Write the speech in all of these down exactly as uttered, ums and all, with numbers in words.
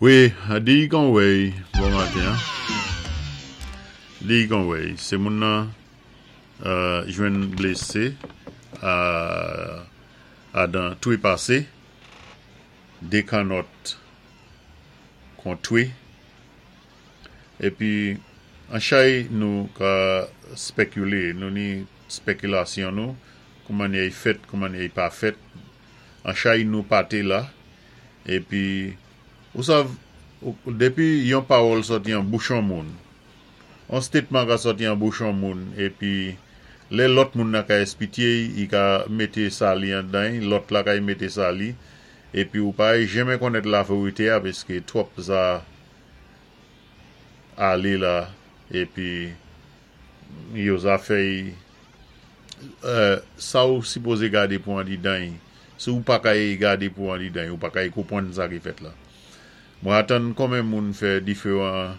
Wi, di kon wèy, bon maten. Di kon wèy, sé moun nan euh, jwenn blésé a, adan twi pasé, dé kannòt kon twi, épi an chay nou ka spékilé, nou ni spékilasyon nou, kouman i fèt, kouman i pa fèt, an chay nou pa té la, épi ou sav, dépi yon pawòl sòti an bouch yon moun, an statement ka sòti an bouch yon moun, épi lè lòt moun nan ka espitye, i ka mété sa li andan, lòt la ka mété sa li, épi ou pa janmen konnèt la vérité a, paské twòp sa alé la, épi yo zafè euh, sa ou sipozé gadé pou andidan, si ou pa ka gadé pou andidan, ou pa ka konpwann sa ki fèt la. Mwen atann konmen moun fè diferan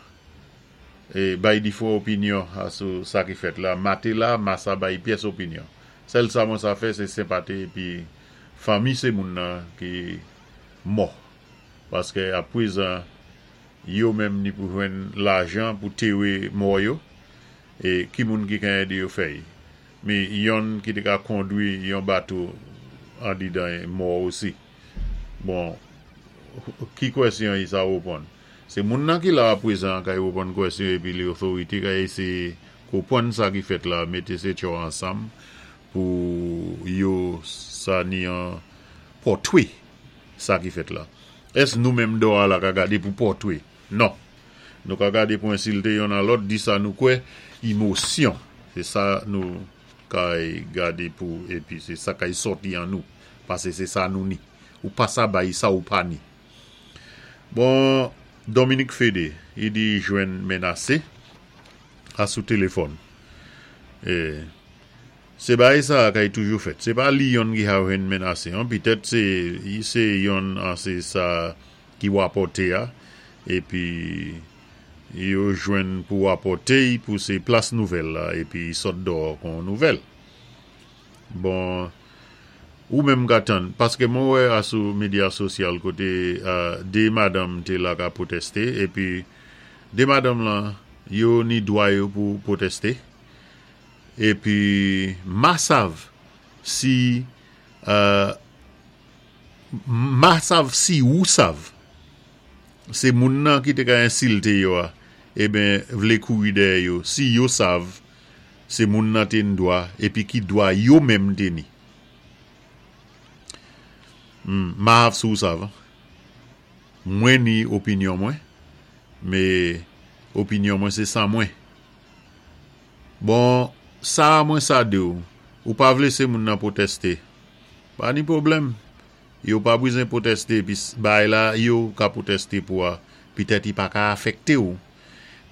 é bay diferan opinyon a sou sa ki fèt la. Ma té la, ma sa bay pyès opinyon. Sèl sa mwen sa fè, sé senpati épi fanmi sé moun nan ki mò. Paské apwézan, yo menm ni pou jwenn lajan pou téré mò yo, é ki moun ki ka édé yo fè. Mé yonn ki té ka kondwi yon bato andidan mò osi. Bon, ki kwèsyon i sa wéponn? Sé moun nan ki la apwézan ka wéponn kwèsyon épi lé otorité ka éséyé konpwann sa ki fèt la, mété sé tcho ansanm pou yo sa ni an pòtwé sa ki fèt la. Ès nou menm dò a la ka gadé pou pòtwé? Non. Nou ka gadé pou ensilté yonn a lòt, di sa nou kwè, émosyon. Sé sa nou ka gadé pou, épi sé sa kay sòti an nou. Pasé sé sa nou ni. Ou pa sa bay sa ou pa ni. Bon, Dominique Fédé, i di jwenn menasé a sou téléfòn. É, sé bagay sa kay toujou fèt. Sé pa li yonn ki ka jwenn menasé, an. Pitèt sé, sé yonn an sé sa ki wapòté a, épi yo jwenn pou wapòté pou sé plas nouvèl la, épi sot dò kon nouvèl. Bon, ou menm ka tann, paské mwen wè a sou medya sosyal koté uh, dé madanm té la ka pwotésté, épi dé madanm lan, yo ni dwa yo pou pwotésté, épi ma sav si uh, ma sav si ou sav sé moun nan ki té ka ensilté yo a, eben vlé kouri dèyè yo, si yo sav sé moun nan té ni dwa, épi ki dwa yo menm té ni. Hmm, ma hav sou sav. Mwen ni opinyon mwen, mé opinyon mwen sé sa mwen. Bon, sa mwen sa di ou, ou pa vlé sé moun nan pwotésté. Pa ni pwoblèm. Yo pa bizwen pwotésté, pi bay la, yo ka pwotésté pou a, pitèt i pa ka afèkté ou.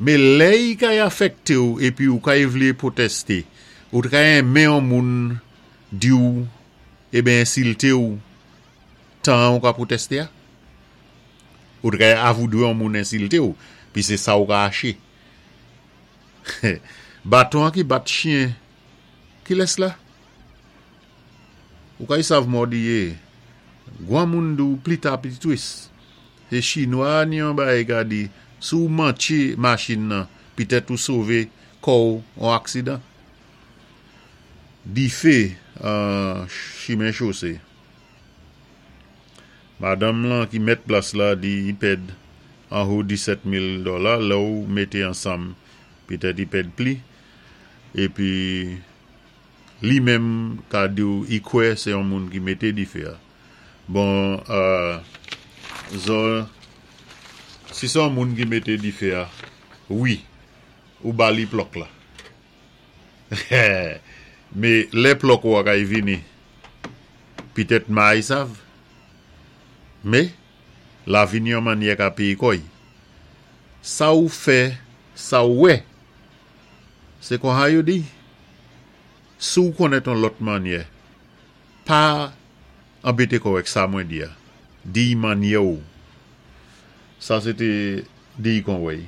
Mé lè i ka afèkté ou, épi ou ka vlé pwotésté, ou ka renmen yon moun di ou, eben ensilté ou, tan ou ka pwotésté a. Ou ka avoudwé yon moun ensilté ou, pi sé sa ou ka aché. Baton an ki bat chyen, ki lès la? Ou ka y sav mòdi yé. Gwan moun di ou pli ta pli twis. Sé chinwa ni yon bagay ka di, si ou mantché machin nan, pitèt ou sové kò ou an aksidan. Difé an chimen chosé. Madanm lan ki mèt plas la di i pèd an ho disèt mil dola, lè ou mété ansanm, pitèt i pèd pli. Épi li menm ka di ou i kwè sé yon moun ki mété difé a. Bon, euh, zo, si sé yon moun ki mété difé a, wi, ou ba li plòk la. Mé lè plòk ou a kay vini, pitèt may sav. Mé, la vini yon mannyè ka péyé kò'y. Sa ou fè, sa ou wè, sé kon ha yo di. Si ou konnèt yon lòt mannyè, pa anbété kò'w sa mwen di a. Di mannyè ou. Sa sé té di kon wèy.